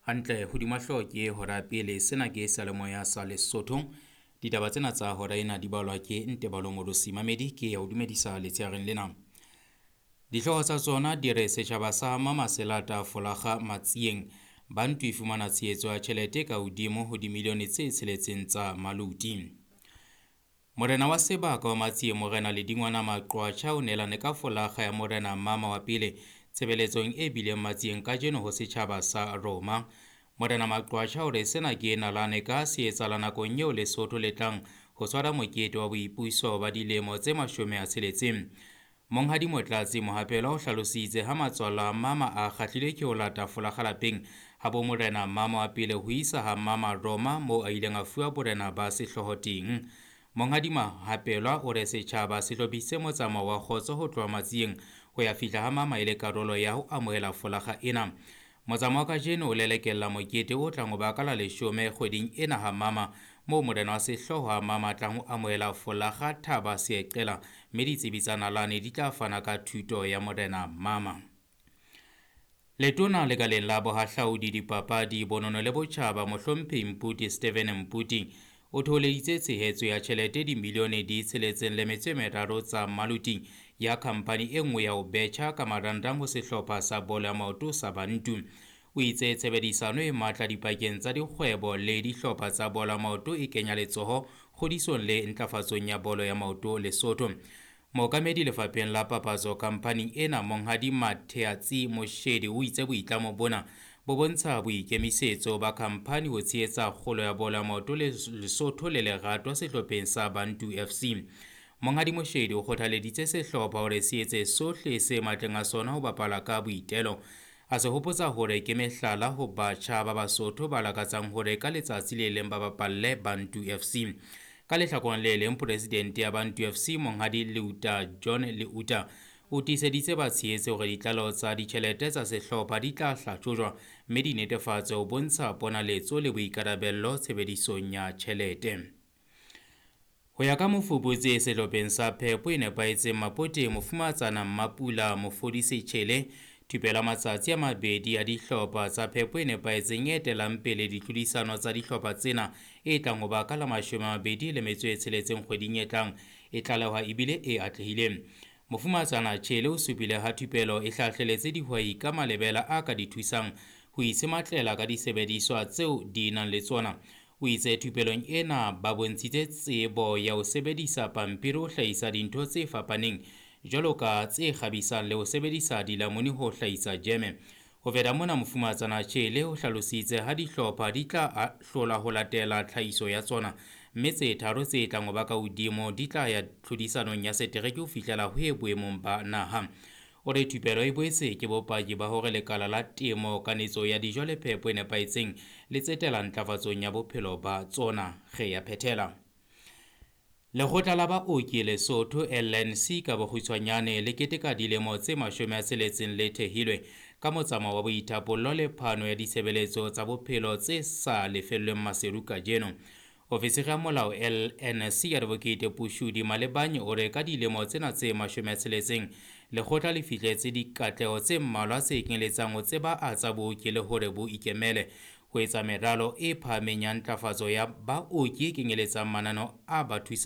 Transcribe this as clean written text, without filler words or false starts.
Hantle hodima hlooho ke hora ya pele. Sena ke seyalemoya sa Lesotho. Ditaba tsena tsa hora ena di balwa ke Ntebalo Modosi Mamedi ke ya o dumedisa letshehareng lena. Dihlooho tsa tsona di re setjhaba sa Mamaselata Folakga Matsieng Bantu e fumana tshehetso ya tjhelete ka hodimo ho dimilione tse tsheletseng tsa maluti. Morena wa sebaka wa Matsieng Morena Ledingwana Maqwatjha o neelane ka folakga ya Morena Mama wa pele tshebeletsong e bileng Matsieng kajeno ho setjhaba sa Roma. Morena Maqwatjha o re sena ke nalane ka se etsahala nakong eo Lesotho le tlang ho tshwara mokete wa boipuso ba dilemo tse 60. Monghadi Motlatsi Mohapelo o hlalositse ha matswalo a Mama a kgahlilwe ke ho lata folakga lapeng ha bo Morena Mama wa pele ho isa ha Mama Roma moo a ileng a fuwa borena ba sehlooho teng. Monghadi Mahapelwa o re setjhaba se hlophisitse motsamao wa kgotso ho tloha Matsieng ho ya fihla ha Mama e le karolo ya ho amohela folakga ena. Motsamao wa kajeno o lelekella mokete o tlang ho ba ka la 10 kgweding ena ha Mama, moo morena wa sehlooho ha Mama tlang ho amohela folakga Thaba Seeqela, mme ditsebi tsa nalane di tla fana ka thuto ya Morena Mama. Letona lekaleng la bohahlaudi, dipapadi, bonono le botjhaba Mohlomphehi Mputi Steven Mputi o thoholeditse tshehetso ya tjhelete dimilione di 6.3 tsa maluti ya khampani e nngwe ya ho betjha ka marangrang ho sehlopha sa bolo ya maoto sa Bantu. O itse tshebedisano e matla dipakeng tsa dikgwebo le dihlopha tsa bolo ya maoto e kenya letsoho kgodisong le ntlafatsong ya bolo ya maoto Lesotho. Mookamedi lefapheng la papatso khamphaning ena Monghadi Matheatsi Moshedi o itse boitlamo bona bo bontsha boikemisetso ba khampani ho tshehetsa kgolo ya bolo ya maoto Lesotho le lerato sehlopheng sa Bantu FC. Monghadi Moshedi o kgothaleditse sehlopha hore se etse sohle se matleng a sona ho bapala ka boitelo. A se hopotsa hore ke mehlala ho batjha ba Basotho ba lakatsang hore ka letsatsi le leng ba bapalle Bantu FC. Ka lehlakoreng le leng, presidente ya Bantu FC Monghadi Leuta John Leuta o tiiseditse batshehetse hore ditlaleho tsa ditjhelete tsa sehlopha di tla hlahlojwa mme di netefatse ho bontsha ponaletso le boikarabello tshebedisong ya tjhelete. Ho ya ka mofuputsi sehlopheng sa phepo e nepahetseng Mapoteng, Mofumahatsana Mmapula Mofodisi Tjhele, thupelo ya matsatsi a mabedi a dihlopha tsa phepo e nepahetseng e etelang pele ditlhodisano tsa dihlopha tsena e tlang ho ba ka la 26 kgweding e tlang e tlalehwa ebile e atlehile. Mofumahatsana Tjhele o supile ha thupelo e hlahleletse dihwai ka malebela a ka di thusang ho itshematlela ka disebediswa tseo di nang le tsona. O itse thupelong ena ba bontshitse tsebo ya ho sebedisa pampiri ho hlahisa dintho tse fapaneng jwalo ka tse kgabisang le ho sebedisa dilamuni ho hlahisa jeme. Ho feta mona, Mofumahatsana Tjhele o hlalositse ha dihlopha di tla hlola ho latela tlhahiso ya tsona, mme tse tharo tse tlang ho ba ka hodimo di tla ya tlhodisanong ya setereke ho fihlela ho e boemong ba naha. O re thupelo e boetse ke bopaki ba hore lekala la temo, kanetso ya dijo le phepo e nepahetseng le tsetela ntlafatsong ya bophelo ba tsona. Re ya phethela. Lekgotla la baoki Lesotho LNC ka bokgutshwanyane le keteka dilemo tse 60 le thehilwe ka motsamao wa boithapollo le phano ya ditshebeletso tsa bophelo tse sa lefellweng maseru kajeno. Ofisiri ya molao LNC Advocate Pushudi Malebanye o re ka dilemo tsena tse 60 lekgotla le fihletse dikatleho tse mmalwa tse kenyeletsang ho tseba tsa booki le hore bo ikemele, ho etsa meralo e phahameng ya ntlafatso ya baoki e kenyeletsang mananeo a ba thusang